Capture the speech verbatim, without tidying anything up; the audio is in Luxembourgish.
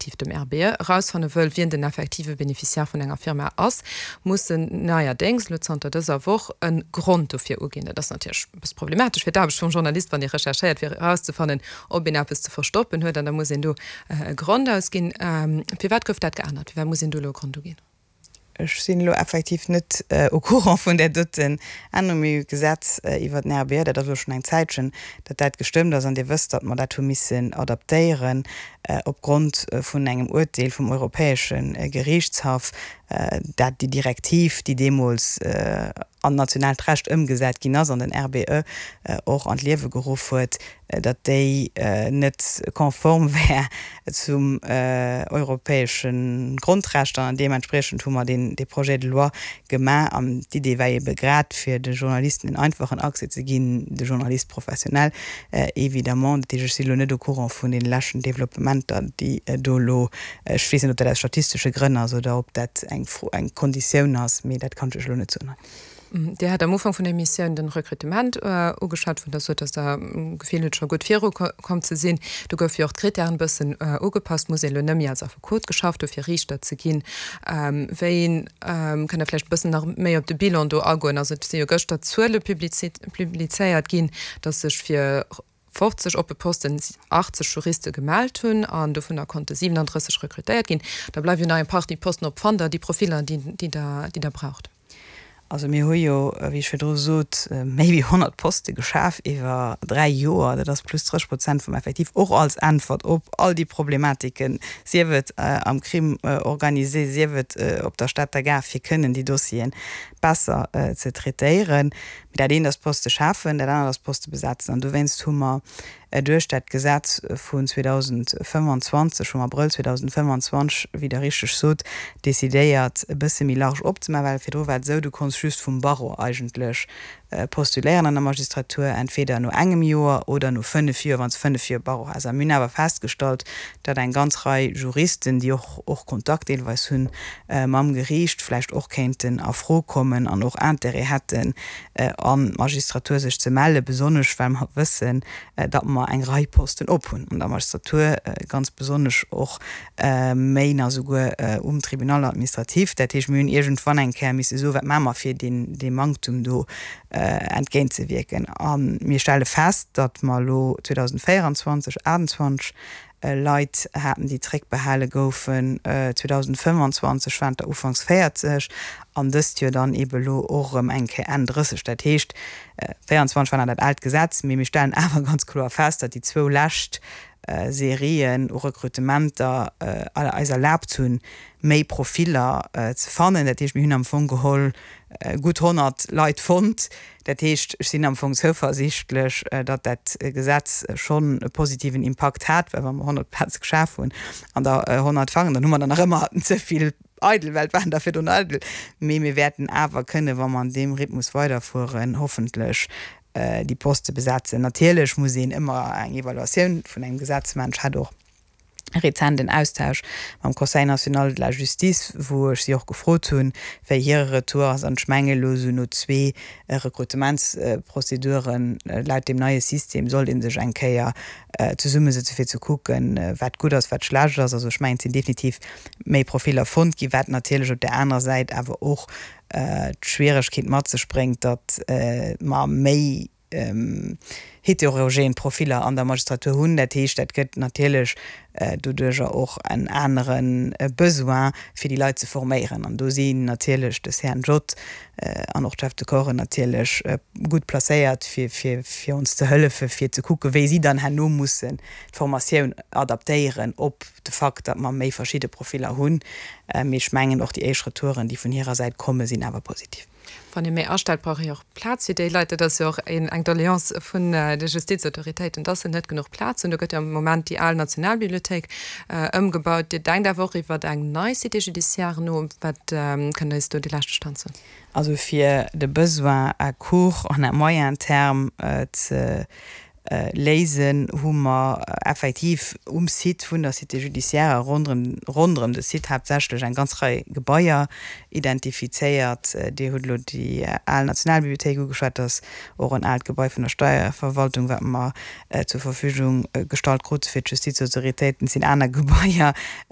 respektiv dem R B E erausfanne wëll, wien den effektive Beneficiaire vun enger Firma ass, muss en neierdéngs, elo zanter dëser Woch, e Grond dofir uginn. Dat ass natierlech e bësse problematesch fir d'Aarbecht vum Journalist, wann ee recherchéiert, fir erauszefannen, ob een eppes ze verstoppen huet, an da muss een do e Grond ausginn. Firwat gouf dat geännert? Firwat muss een do elo e Grond uginn? Ech sinn elo effektiv net au courant vun där doten Ännerung. Mir hu Gesetz iwwert den R B E, dat ass elo schonn eng Zäitchen, datt dat gestëmmt ass. An Dir wësst, datt mer dat hu missen adaptéieren opgrond vun engem Uerteel vum Europäesche Geriichtshaff, dat déi Direktiv, déi deemools an nationaalt Recht ëmgesat ginn ass an den R B E och an d'Liewe geruff huet, datt déi net konform wär zum europäesche Grondrechter. An deementspriechend hu mer deen dee Projet de loi gemaach. An d'Idee war ebe grad, fir de Journalisten en einfachen Accès ze ginn, de Journaliste professionnel évidemment. Dat heescht, ech sinn elo net au courant vun deene leschten Developpementer, déi do elo, ech weess net, ob dat aus statistesche Grënn ass oder ob dat eng Fro, eng Konditioun ass, mee dat kann ech lech elo net soen hei. Dir hat am Ufank vun der Emissioun den Rekrutement ugeschwat, wou Der sot, dass Der d'Gefill hutt, scho gutt virukomm ze sinn. Do goufe jo och d'Kritären e bëssen ugepasst. Muss een elo net méi als Affekot geschafft hu fir Riichter ze ginn? Wéi, kënnt Der vläicht e bëssen nach méi op de Bilan do agoen? Also et si jo gëschter Zuele publizéiert ginn, dass sech fir fofzeg oppe Posten achtzeg Juriste gemellt hunn an dovunner konnte siwenandrësseg rekrutéiert ginn. Da bleiwe jo nach eng Partie Posten op. Fannt Der déi Profiller, déi Der braucht? Also mir hu jo, wéi ech virdru sot, méi wéi honnert Poste geschaf iwwer dräi Joer. Dat ass plus drësseg Prozent vum Effektiv, och als Äntwert op all déi Problematiken, sief et am Crime organisé, sief et op der Stater Gare, fir kënnen déi Dossieren besser ze traitéieren. Mee dat eent ass Poste schafen, dat anert ass Poste besetzen. An dowéinst hu mer duerch dat Gesetz vun zweedausendfënfwanzwanzeg, vum Abrëll zweedausendfënfwanzwanzeg, wéi Der richteg sot, decidéiert, e bësse méi large opzemaachen, well virdru war et esou, du konns just vum Barreau eigentlech postuléieren an der Magistratur, entweder no engem Joer oder no fënnef Joer, wann s de fënnef Joer Barreau has. A mir hunn awer festgestallt, datt eng ganz Rei Juristen, déi och och Kontakt deelweis hunn mam Geriicht, vläicht och kéinten a Fro kommen an och Intérêt hätten, an d'Magistratur sech ze mellen, besonnesch well mer wëssen, datt mer eng Rei Posten op hunn an der Magistratur, ganz besonnesch och méi nach souguer um Tribunal administratif. Dat heescht, mir hunn iergendwann eng Kéier misse soen, wat maache mer, fir deem Manktum do entgéintzewierken. A mir stelle fest, datt mer elo zweedausendvéieranzwanzeg, aachtanzwanzeg Leit haten, déi zréckbehale goufen, zweedausendfënfwanzwanzeg waren et der ufanks véierzeg an dëst Joer dann eebe elo och erëm eng Kéier Enn drësseg. Dat heescht, véieranzwanzeg war nach dat aalt Gesetz, mee mir stellen awer ganz kloer fest, datt déi zwou lescht Serien u Rekrutementer eis erlaabt hunn, méi Profiller ze fannen. Dat heescht, mir hunn am Fong geholl gutt honnert Leit fonnt. Dat heescht, ech sinn am Fong zouversiichtlech, datt dat Gesetz schonn e positiven Impakt hat, well wa mer honnert Plaze geschaf hunn an der honnert fannen, dann hu mer der nach ëmmer ze vill eidel, well et waren der virdrun eidel. Mee mir wäerten awer kënnen, wa mer an deem Rhythmus weiderfueren, hoffentlech déi Poste besetzen. Natierlech muss een ëmmer eng Evaluatioun vun engem Gesetz maachen. Ech hat och rezent en Austausch mam Conseil national de la justice, wou ech si och gefrot hunn, wéi hire Retour ass. An ech menge elo esou no zwee Rekrutementsprozeduren laut deem neie System sollt ee sech eng Kéier zesummesëtze fir ze kucken, wat gutt ass, wat schlecht ass. Also ech mengen, et sinn definitiv méi Profiller fonnt ginn, wat natierlech op där anerer Säit awer och d'Schwieregkeet mat sech bréngt, datt mer méi heterogen Profiller an der Magistratur hunn. Dat heescht, dat gëtt natierlech doduerjer och en anere Besoin, fir déi Leit ze forméieren. An do sinn natierlech de C N J an och d'Chefs de corpsen natierlech gutt placéiert, fir, fir, fir ons ze hëllefen, fir ze kucken, wéi si dann herno mussen d'Formatioun adaptéieren op de Fakt, datt mer méi verschidde Profiller hunn. Mee ech mengen, och déi éischt Retouren, déi vun hirer Säit kommen, sinn awer positiv. Wann ee méi astellt, brauch ee jo och Plaz fir déi Leit. Dat ass jo och een, eng Doleance vun de Justizautoritéiten, dass se net genuch Plaz hunn. Do gëtt jo am Moment déi al Nationalbibliothéik ëmgebaut. Dir denkt awer och iwwer eng nei Cité judiciaire no. Wat kënnt Der eis do de leschte Stand soen? Also fir de Besoin à court an à moyen terme ze léisen, hu mer effektiv um Site vun der Cité judiciaire a ronderëm, ronderëm de Site haaptsächlech eng ganz Rei Gebaier identifizéiert. Dir hutt elo déi al Nationalbibliothéik ugeschwat, dat ass och en aalt Gebai vun der Steierverwaltung, wat mer zur Verfügung gestallt krute fir d'Justizautoritéiten. Et sinn aner Gebaier.